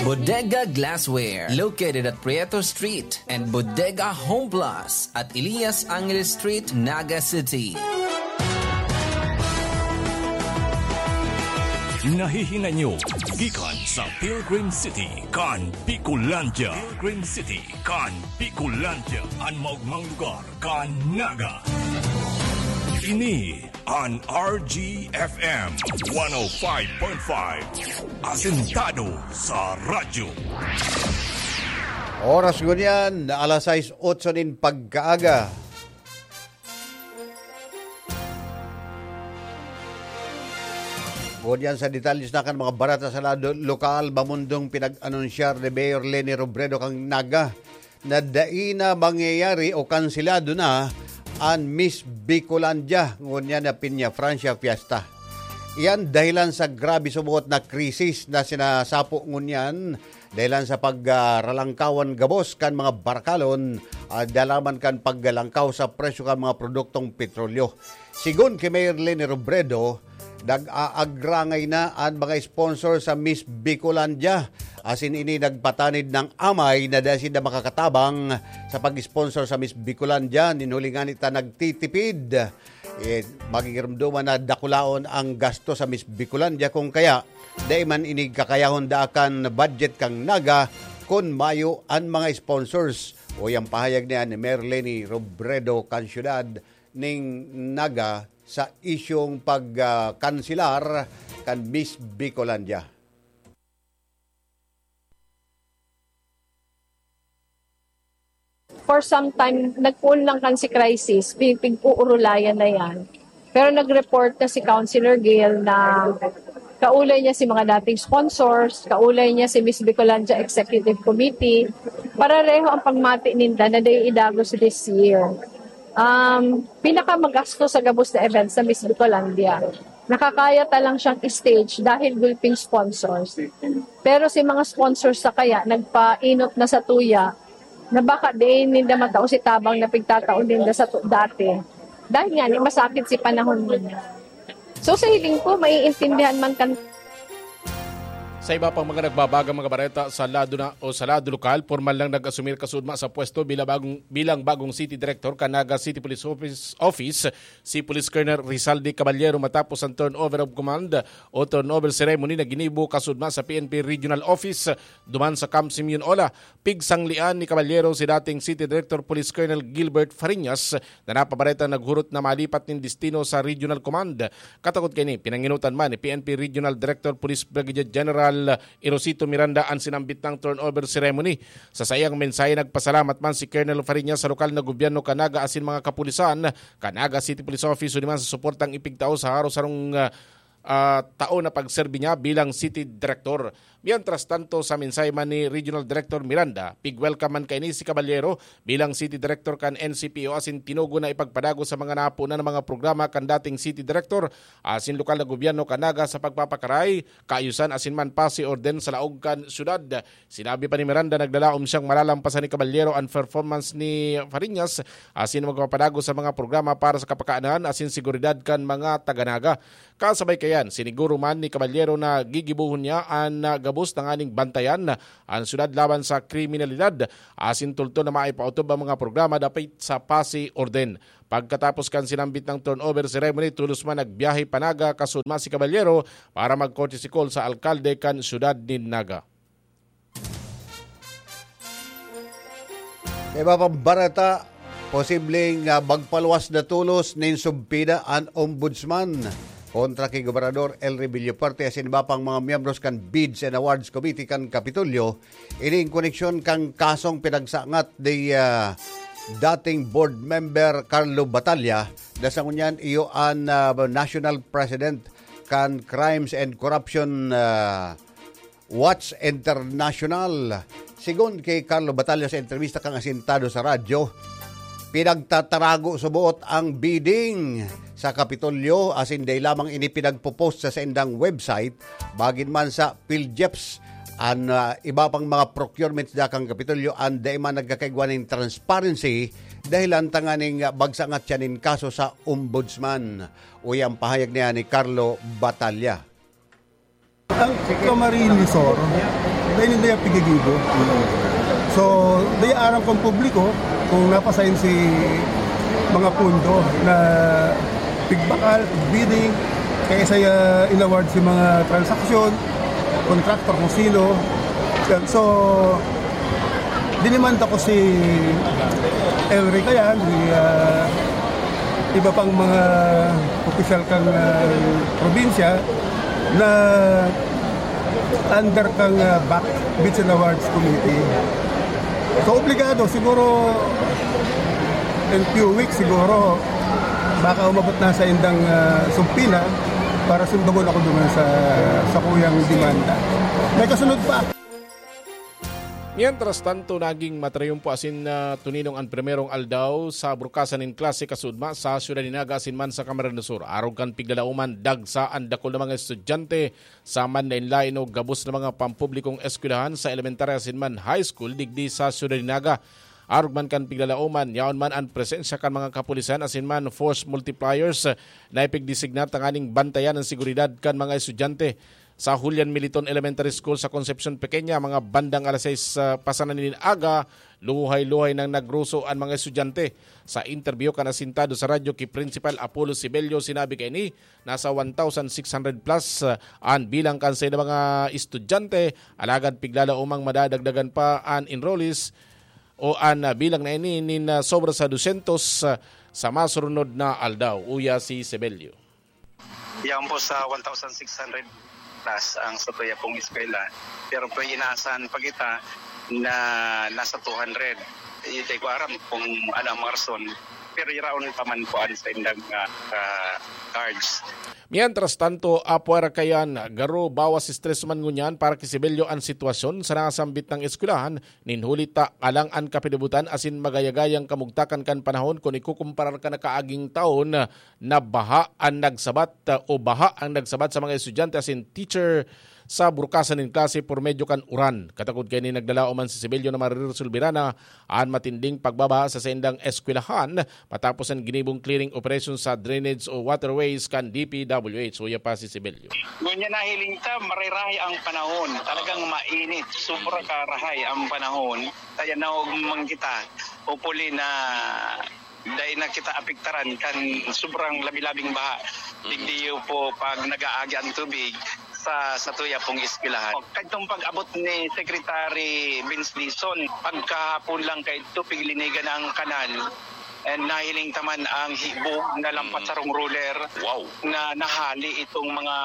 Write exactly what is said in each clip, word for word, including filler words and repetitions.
Bodega Glassware, located at Prieto Street, and Bodega Home Plus at Elias Angeles Street, Naga City. Nahihinay nyo gikan sa Pilgrim City kan Bicolandia. Pilgrim City kan Bicolandia, an maogmang lugar kan Naga. Ini an R G F M one oh five point five, asentado sa radyo. Oras ngunyan na alas sais otso nin pagkaaga. Ngunyan sa detalye na kan mga bareta sa lado lokal, mamundong pinag-anunsyar ni Mayor Leni Robredo kan Naga na dai na mangyayari o kanselado na an Miss Bicolandia ngunyan na Peña Francia Fiesta. Iyan dahilan sa grabe subot na krisis na sinasapo ngunyan dahilan sa pagralangkawan gabos kan mga barakalon, ah, dalaman kan paggalangkaw sa presyo kan mga produktong petrolyo. Sigon ki Mayor Leni Robredo, nag-aagrangay na an mga sponsor sa Miss Bicolandia. Asin ini nagpatanid ng amay na dai sinda makakatabang sa pag-sponsor sa Miss Bicolandia. Nin huli ngani ta nagtitipid. Eh, magigirumduman na dakulaon ang gasto sa Miss Bicolandia kung kaya dai man ini kakayahon daakan budget kan Naga kun mayo an mga sponsors. O yang pahayag niya ni Mayor Leni Robredo kan syudad ning Naga sa isyung pag, ah, kanselar kan Miss Bicolandia. For some time, nagpoon lang kan si crisis, pig-, pig-uurulayan na yan. Pero nag-report na si Councilor Gail na kaulay niya si mga dating sponsors, kaulay niya si Miss Bicolandia Executive Committee. Pareho ang pagmati ninda na dai idagos this year. Um, pinakamagasto sa gabos na event sa Miss Bicolandia. Nakakaya ta lang siyang stage dahil gulping sponsors. Pero si mga sponsors sa kaya nagpainot na sa tuya na baka diin ninda matao si tabang na pigtatao ninda sa tu-, dati. Dahil nga, ni masakit si panahon nila. So, sa hiling ko, maiintindihan man kan- Sa iba pang mga nagbabagang mga bareta sa lado na o sa lado lokal, pormal nang nag-asumir kasudma sa pwesto bilang bagong, bilang bagong city director kan Naga City Police Office, Office si Police Colonel Rizaldi Caballero matapos ang turnover of command o turnover ceremony na ginibo kasudma sa P N P Regional Office duman sa Camp Simeon Ola. Pigsanglean ni Caballero si dating City Director Police Colonel Gilbert Fariñas na napabaretang naghurot na malipat nin destino sa Regional Command. Katakot kaini, pinanginutan man ni P N P Regional Director Police Brigadier General Erosito Miranda an sinambit nang turnover ceremony. Sa saiyang mensahe, nagpasalamat man si Colonel Fariñas sa lokal na gobyerno kan Naga asin mga kapulisan kan Naga City Police Office, huli man sa suportang ipigtao sa harong-harong, ah, ah, taon na pagserbi niya bilang City Director. Mientras tanto, sa mensahe man ni Regional Director Miranda, pig-welcome man kaini si Caballero bilang City Director kan N C P O asin tinugon na ipagpadagos sa mga napunan na mga programa kan dating City Director asin lokal na gobyerno kan Naga sa pagpapakaray, kaayusan asin man pasi orden sa laog kan syudad. Sinabi pa ni Miranda, naglalaom siyang malalampasan ni Caballero an performance ni Fariñas asin magpapadagos sa mga programa para sa kapakanan asin seguridad kan mga taga-Naga. Kasabay kaiyan, siniguro man ni Caballero na gigibohon niya an, ah, gabos tanganing bantayan an syudad laban sa kriminalidad asin tultol na maipaotob ang mga programa dapit sa pasi orden. Pagkatapos kan sinambit na turnover ceremony, tolos man nagbiyahe pa Naga kasudma si Caballero para mag-courtesy call sa alkalde kan syudad nin Naga. Sa iba pang bareta, posibleng, ah, magpaluwas na tolos nin sumpida an Ombudsman kontra ki Gobernador Elry Villafuerte asin iba pang mga miyembros kan Bids and Awards Committee kan Kapitolyo. Ini in koneksyon kan kasong pinagsangat ni, ah, dating board member Carlo Batalla, na sa ngunyan iyo an, ah, national president kan Crimes and Corruption, ah, Watch International. Sigon ki Carlo Batalla sa entrevista kan asentado sa radyo, pinagtatarago suboot ang bidding sa Kapitolyo asin dai lamang ini pinagpo-post sa saindang website, bagin man sa PhilGEPS, an, ah, iba pang mga procurements da kan Kapitolyo an dai man nagkakaigwa nin transparency, dahilan tanganing bagsangat siya nin kaso sa Ombudsman. Uya ang pahayag niya ni Carlo Batalla. Ang Camarines Sur, Sa inyo na yung pigigibo. So, di aram kong publiko kung napasain si mga pundo na pigbakal, bidding, kaya sa uh, inaward si mga transaksyon, contractor kung sino. So, dinimanda ko si Elry Kayan, si uh, iba pang mga opisyal kang uh, probinsya na under kang uh, back Bids and Awards Committee. So, obligado, siguro, in few weeks, siguro, baka umabot na sa indang uh, sumpila para sumbagon ako doon sa, sa kuyang demanda. May kasunod pa. Mientras tanto, naging matrayumpo asin uh, tuninong an primerong aldaw sa brukasan nin klase kasudma sa Siyudad nin Naga asin man sa Camarines Sur. Arog kan piglalauman, dagsa an dakul na mga estudyante sa manlaen-laen o gabos na mga pampublikong eskwelahan sa elementarya asin man high school digdi sa Siyudad nin Naga. Arog man kan piglalauman, yaon man an presensya kan mga kapulisan asin man force multipliers na ipigdesignar tanganing bantayan an seguridad kan mga estudyante. Sa Julian Militon Elementary School sa Concepcion Pequeña, mga bandang alas sais uh, pasanan nin aga, luhay-luhay nang nagruso an mga estudyante. Sa interview kan asintado sa radyo ki Principal Apollo Sibelio, sinabi kaini, nasa one thousand six hundred plus uh, an bilang kan saida mga estudyante, alagad piglalaomang madadagdagan pa an enrollees o an uh, bilang na ini nin uh, sobra sa dosyentos uh, sa masurunod na aldaw, uya si Sibelio. Yaon po sa one thousand six hundred plus ang satuya pong eskwela. Pero po inaasahan pa kita na nasa two hundred. Hindi ko aram kung ano ang mga rason. Pero iraon pa man po ang sa indang uh, uh, cards. Mientras tanto, apwera kayan, garo bawas stress man ngunyan para ki Sibelio an sitwasyon sa nasambit nang eskwelahan, nin huli ta alang an kapinibutan asin magayagayang kamugtakan kan panahon kun ikukumparar kan nakaaging taon na baha an nagsabat o baha ang nagsabat sa mga estudyante asin teacher sa burukasan nin klase por medyo kan uran. Katakod kaini nagdalaom an si Sibelio na mariresolbira na an matinding pagbabaha sa saindang eskwelahan matapos an ginibong clearing operation sa drainage o waterways kan D P W H. Uya pa si Sibelio. Ngunyan nahiling ta, marirahay ang panahon. Talagang mainit. Sobra karahay ang panahon. Kaya naog man kita. Hopefully na dai na kita apektaran kan sobrang labi-labing baha. Digdi po pag nag-aagi ang tubig sa satuya pong eskwelahan. Kadtong pag-abot ni Secretary Vince Dizon, pagkahapon lang kay ito, piglinigan ang kanal. And nahiling taman ang hibog na lampas sarong roller Wow. na nahali itong mga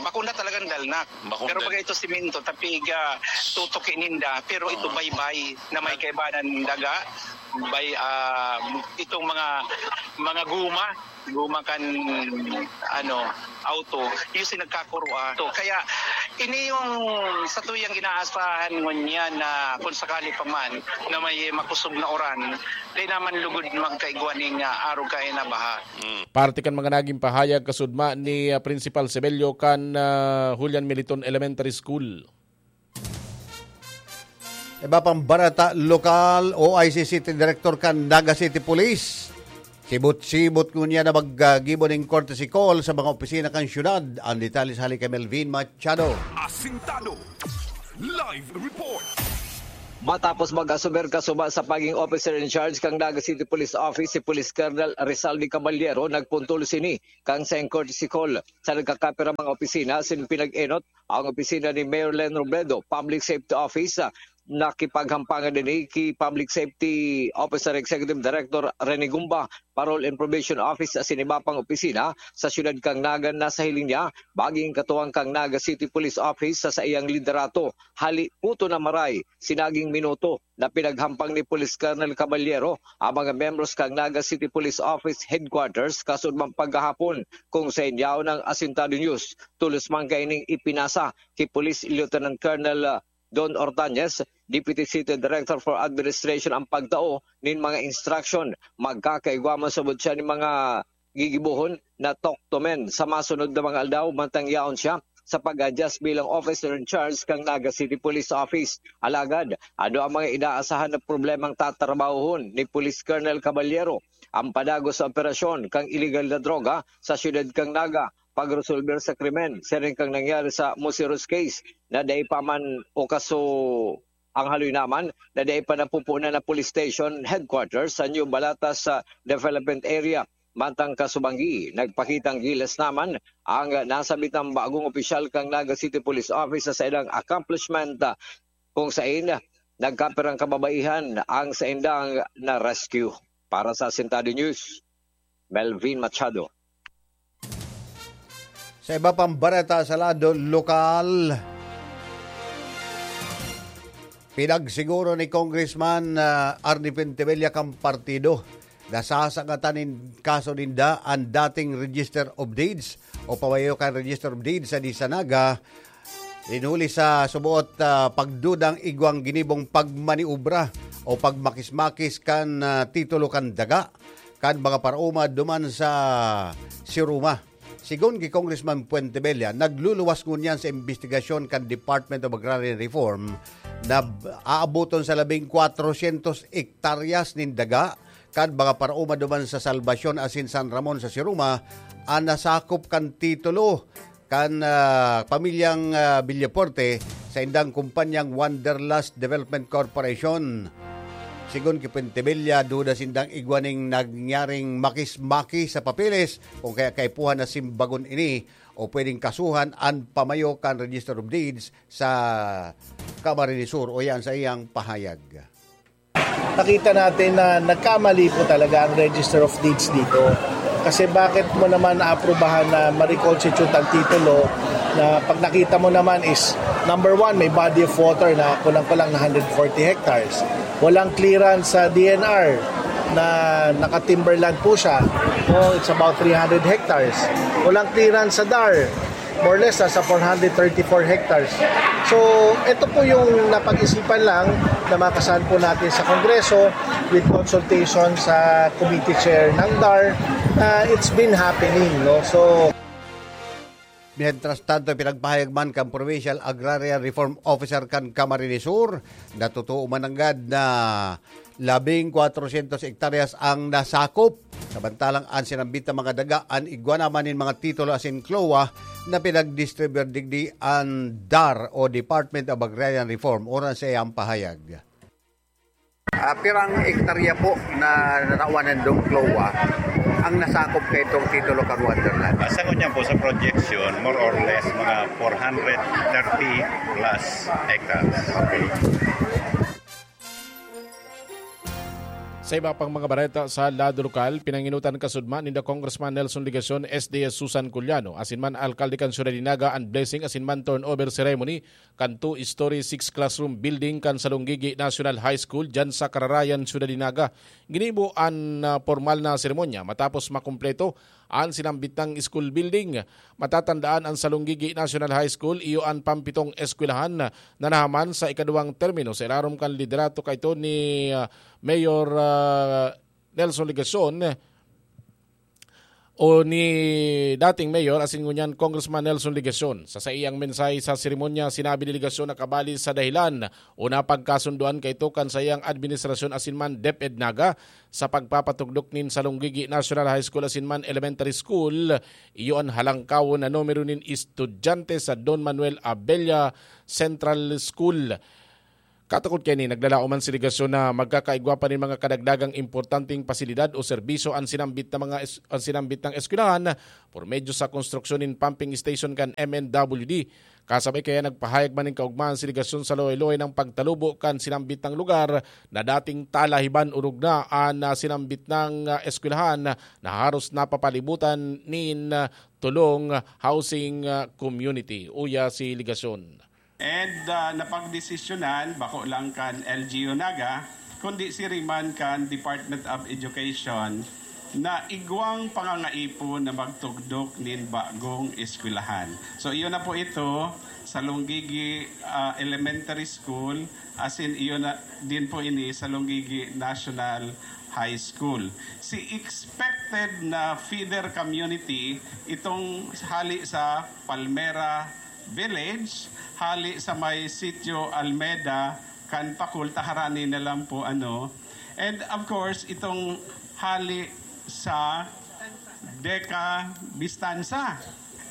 bakuna talagang dalnak. Bakuna. Pero bagay ito simento, tapiga, tutuki ninda, pero ito baybay na may kaibanan daga, bay ah, itong mga mga guma, guma kan ano, auto, yung si nagkakurwa. So, kaya ini yung sa tuyang inaasahan ngunyan na kung sakali pa man na may makusog na uran, di naman lugod magkaigwa ning ah, arog kaya na baha. Parte kan mga naging pahayag kasudma ni ah, Principal Sebelio kan ah, Julian Militon Elementary School. Iba pang barata, lokal, O I C City Director kan Naga City Police. Sibot-sibot ngunyan na maggibo ning courtesy call sa mga opisina kan syudad. Ang detalye sa hali kay Melvin Machado. Asintado. Live report. Matapos mag-asumer kasuma sa paging officer in charge kang Naga City Police Office si Police Colonel Rizaldi Caballero, nagpuntol sini kang sa courtesy call sa nagkakapira mga opisina sin pinag-enot ang opisina ni Mayor Len Robredo, Public Safety Office, ah, nakipaghampangan din ki Public Safety Officer Executive Director Rene Gumba, Parole and Probation Office sa sinibapang opisina sa siyudad kang Naga na sa hiling niya, baging katuwang kang Naga City Police Office sa saiyang liderato. Hali puto na maray, sinaging minuto na pinaghampang ni Police Colonel Caballero ang mga membros kang Naga City Police Office Headquarters kasudmang paghahapon kung sa inyaw ng Asintado News. Tulos man kaining ipinasa ki Police Lieutenant Colonel Don Ortañez, Deputy City Director for Administration ang pagtao nin mga instruction. Magkakaigwa man subod siya nin mga gigibohon na talk to men sa masunod na mga aldaw mantang yaon siya sa pag-adjust bilang officer in charge kang Naga City Police Office. Alagad, ano ang mga inaasahan na problemang tatrabahohon ni Police Colonel Caballero? Ang padagos sa operasyon kang iligal na droga sa siyudad kang Naga, pagresolber sa krimen, siring kan nangyari sa Museros case na dai pa man o kaso ang haloy naman na dai pa napupunan na police station headquarters sa New Balata sa development area. Mantang kasubanggi, nagpakitang gilas naman ang nasabitang bagong opisyal kan Naga City Police Office sa ilang accomplishment, kung sain nagkapirang kababaihan ang saindang na-rescue. Para sa Asintado News, Melvin Machado. Sa iba pang bareta sa lado lokal, pinagsiguro ni Congressman, ah, Arnie Pentebella kan partido na sasangatan nin kaso ninda an dating Register of Deeds o pamayo kan Register of Deeds sa Disa Naga, rin huli sa suboot, ah, pagdudang igwang ginibong pagmaniobra o pagmakis-makis kan, ah, titulo kan daga kan mga paraoma duman sa Siruma. Sigon ki Congressman Puentebella, nagluluwas ngunyan sa imbestigasyon kan Department of Agrarian Reform na b-, aaboton sa labing kwatrosyentos hektaryas nin daga kan mga paraoma duman sa Salvacion asin San Ramon sa Siruma an nasakop kan titulo kan, ah, pamilyang, ah, Villafuerte sa indang kumpanyang Wanderlust Development Corporation. Sigon ki Pentebella, duda sindang igwa nin nangyaring makis-makis sa papeles, kung kaya kaipuhan na simbagon ini o pwedeng kasuhan an pamayo kan Register of Deeds sa Camarines Sur, uya an saiyang pahayag. Nakita natin na nagkamali po talaga ang Register of Deeds dito. Kasi bakit mo naman naaprubahan na ma-reconstitute ang titulo na pag nakita mo naman is, number one, may body of water na kulang-kulang na hundred forty hectares. Walang clearance sa D N R na naka-timberland po siya. No, it's about three hundred hectares. Walang clearance sa DAR. More or less, nasa four hundred thirty-four hectares. So, ito po yung napag-isipan lang na makasahan po natin sa Kongreso with consultation sa committee chair ng DAR. Ah, it's been happening, no? So, Mientras tanto, pinagpahayag man kan Provincial Agrarian Reform Officer kan Camarines Sur na totoo man nanggad na labing kwatrosyentos hektaryas ang nasakop. Samantalang an sinambit na mga daga, an igwa naman nin mga titulo asin CLOA na pinagdistribuir digdi an DAR o Department of Agrarian Reform, uya an saiyang pahayag. Ah, pirang hektarya po na natawan nindong CLOA ang nasakop kaitong titulo kan Wanderlust? Ah, sa ngunyan po, sa projection, more or less, mga four hundred thirty plus hectares. Okay. Sa iba pang mga bareta sa lado lokal, pinanginutan kasudma ninda Congressman Nelson Legacion, S D S Susan Culiano, asin man alkalde kan syudad nin Naga an blessing asin man turnover ceremony kan two-story, six-classroom building kan Salonggigi National High School diyan sa Kararayan, Syudad nin Naga. Ginibo an, ah, pormal na seremonya matapos makumpleto an sinambit nang school building. Matatandaan, an Salonggigi National High School iyo an pampitong eskwelahan na nahaman sa ikaduwang termino sa ilarom kan liderato kaito ni, ah, Mayor, ah, Nelson Legacion o ni dating Mayor asin ngunyan Congressman Nelson Legacion. Sa saiyang mensahe sa seremonya, sinabi ni Legacion na kabali sa dahilan o napagkasundoan kaito kan saiyang administrasyon asin man DepEd Naga sa pagpapatugdok nin Salonggigi National High School asin man Elementary School, iyo an halangkawon na numero nin estudyante sa Don Manuel Abella Central School. Katukod kaini, naglalaom an delegasyon na magkakaigwa pa nin mga kadagdagang importanteng pasilidad o serbisyo an sinambit na mga es-, an sinambit nang eskwelahan por medyo sa konstruksyon nin pumping station kan M N W D. Kasabay kaya, nagpahayag man nin kaugmahan an delegasyon sa luway-luway nang pagtalubo kan sinambit nang lugar na dating talahiban o rugna an, ah, sinambit nang, ah, eskwelahan na haros napapalibutan nin, ah, Tulong Housing, ah, Community, uya si Legacion. And, ah, napagdesisyonan, bako lang kan L G U Naga, kundi siring man kan Department of Education, na igwang pangangaipo na magtugdok nin bagong eskwelahan. So, iyo na po ito, Salonggigi, ah, Elementary School, asin iyo na din po ini, Salonggigi National High School. Si expected na feeder community, itong hali sa Palmera Village, hali sa may Sitio Almeda, kan Pakul, ta harani na lang po, ano. And of course, itong hali sa Deca Vistanza.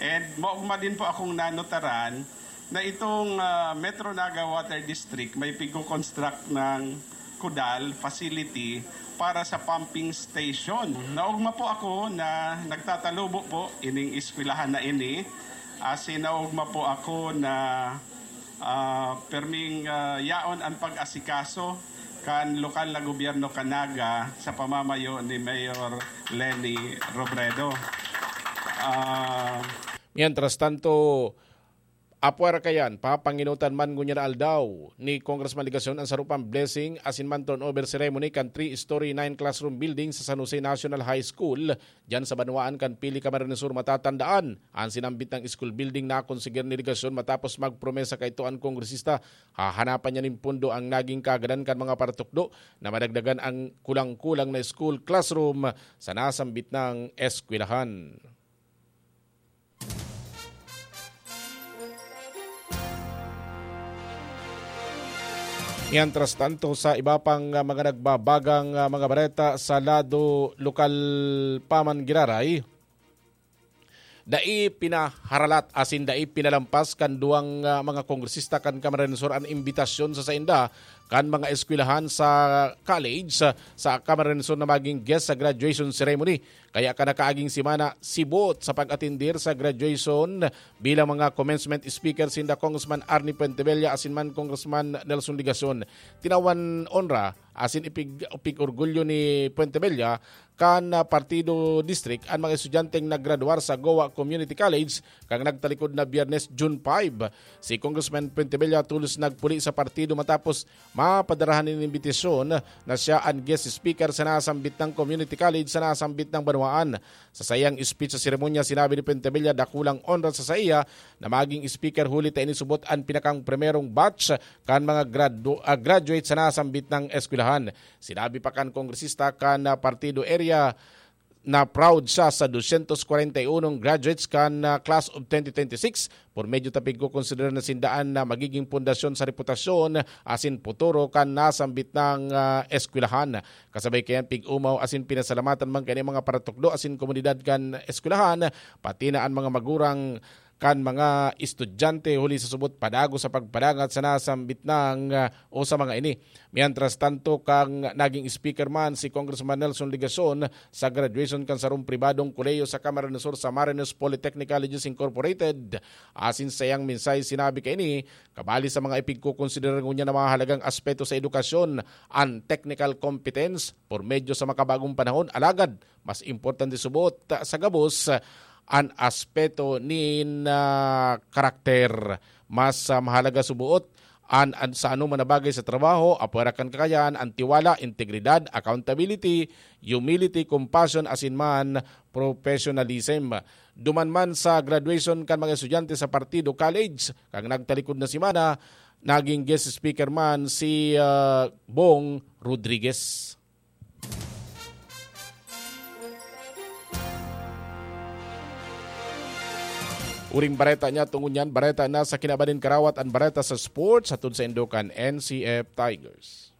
And maugma din po akong nanotaran na itong, ah, Metro Naga Water District may pigko-construct ng kudal facility para sa pumping station. Naugma po ako na nagtatalubo po ining eskwelahan na ini. Asin naugma po ako na, ah, perming, ah, yaon an pag-asikaso kan lokal na gobyerno kan Naga sa pamamayo ni Mayor Leni Robredo. Ah, Mientras tanto, apwera kayan, papanginutan man ngunyan na aldaw ni Congressman Legacion an sarupang blessing asin man turnover ceremony kan three-story, nine-classroom building sa San Jose National High School, diyan sa banwaan kan Pili, Camarines Sur. Matatandaan, an sinambit na school building nakonseger ni Legacion matapos magpromesa kaito an kongresista. Hahanapan niya nin pondo ang naging kaagadan kan mga paratukdo na madagdagan ang kulang-kulang na school classroom sa nasambit na eskwelahan. Mientras tanto, sa iba pang, ah, mga nagbabagang, ah, mga bareta sa lado lokal pa man giraray, dai pinaharalat asin dai pinalampas kan duwang, ah, mga kongresista kan Camarines Sur an imbitasyon sa sainda kan mga eskwelahan sa college sa, sa Camarines Sur na maging guest sa graduation ceremony. Kaya kan nakaaging semana, siboot sa pag-atendir sa graduation bilang mga commencement speaker sinda Congressman Arnie Fuentebella asin man Congressman Nelson Legacion. Tinawan onra asin ipig-, ipig-orgulyo ni Fuentebella kan, ah, Partido District an mga estudyanteng naggraduar sa Goa Community College kan nagtalikod na Biyernes, June five. Si Congressman Fuentebella tolos nagpuli sa partido matapos mapadarahan nin imbitasyon na siya an guest speaker sa nasambit na community college sa nasambit na banwaan. Sa saiyang speech sa seremonya, sinabi ni Fuentebella, dakulang onra sa saiya na maging speaker huli ta ini subot an pinakang primerong batch kan mga gradu-, ah, graduate sa nasambit na eskwelahan. Sinabi pa kan kongresista kan, ah, partido area na proud siya sa dosyentos kwarenta y unong graduates kan, ah, class of twenty twenty-six. Por medyo ta pigkokonsidera na sinda an, ah, magiging pundasyon sa reputasyon asin puturo kan nasambit na, ah, eskwelahan. Kasabay kayan, pig-omaw asin pinasalamatan man kaini mga paratukdo asin komunidad kan eskwelahan, pati na an mga magurang kan mga estudyante huli sa subot padagos sa pagpadangat sa nasambit na, ah, o sa mga ini. Mientras tanto, kan naging speaker man si Congressman Nelson Legacion sa graduation kan sarong pribadong kolehiyo sa Camarines Sur, sa Marinos Polytechnic Colleges Incorporated. Asin sa iyang mensahe, sinabi kaini, kabali sa mga ipigkokonsidera ngunyan na mahahalagang aspeto sa edukasyon, an technical competence, por medyo sa makabagong panahon, alagad mas importante subot sa gabos an aspeto nin, ah, karakter. Mas, ah, mahalaga suboot an, an sa anoman na bagay sa trabaho, apwera kan kakayan, an tiwala, integridad, accountability, humility, compassion, asin man professionalism. Duman man sa graduation kan mga estudyante sa Partido College, kan nagtalikod na semana, naging guest speaker man si, ah, Bong Rodriguez. Uring bareta niya, tungo niyan, bareta na sa kinaban nin karawat an bareta sa sports, hatod saindo kan N C F Tigers.